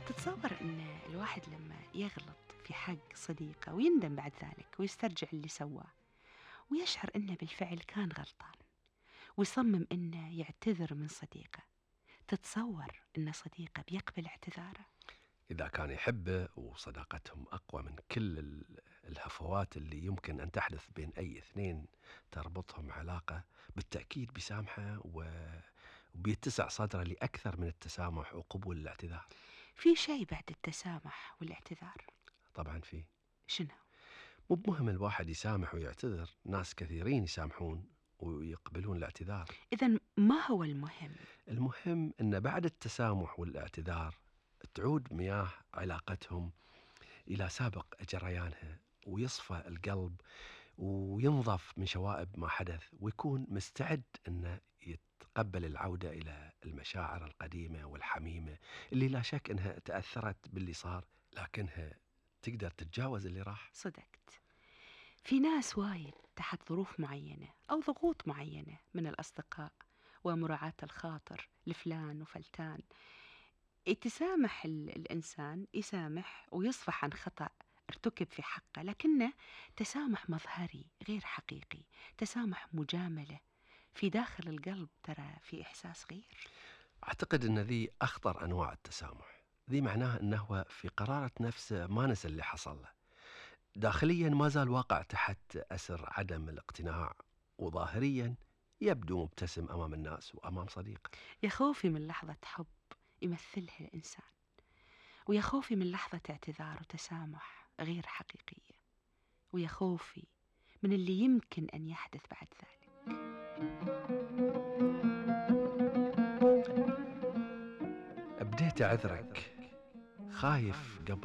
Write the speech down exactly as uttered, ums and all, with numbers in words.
تتصور أن الواحد لما يغلط في حق صديقه ويندم بعد ذلك ويسترجع اللي سواه ويشعر أنه بالفعل كان غلطان ويصمم أنه يعتذر من صديقه، تتصور أن صديقه بيقبل اعتذاره؟ إذا كان يحبه وصداقتهم أقوى من كل ال- الهفوات اللي يمكن أن تحدث بين أي اثنين تربطهم علاقة، بالتأكيد بيسامحه و- وبيتسع صدره لأكثر من التسامح وقبول الاعتذار. في شيء بعد التسامح والاعتذار؟ طبعا فيه. شنو؟ مو بمهم الواحد يسامح ويعتذر، ناس كثيرين يسامحون ويقبلون الاعتذار. إذن ما هو المهم؟ المهم أن بعد التسامح والاعتذار تعود مياه علاقتهم إلى سابق جريانها، ويصفى القلب وينظف من شوائب ما حدث، ويكون مستعد أنه يتقبل العودة إلى المشاعر القديمة والحميمة اللي لا شك أنها تأثرت باللي صار، لكنها تقدر تتجاوز اللي راح. صدقت. في ناس وايد تحت ظروف معينة أو ضغوط معينة من الأصدقاء ومراعاة الخاطر لفلان وفلتان، يتسامح ال- الإنسان يسامح ويصفح عن خطأ ارتكب في حقه، لكنه تسامح مظهري غير حقيقي، تسامح مجاملة. في داخل القلب ترى في إحساس غير. أعتقد أن ذي أخطر أنواع التسامح. ذي معناه أنه في قرارة نفسه ما نسى اللي حصل له، داخليا ما زال واقع تحت أسر عدم الاقتناع، وظاهريا يبدو مبتسم أمام الناس وأمام صديقه. يا خوفي من لحظة حب يمثلها الإنسان، ويا خوفي من لحظة اعتذار وتسامح غير حقيقية، ويا خوفي من اللي يمكن أن يحدث بعد ذلك. بديت أعذرك، خايف قبل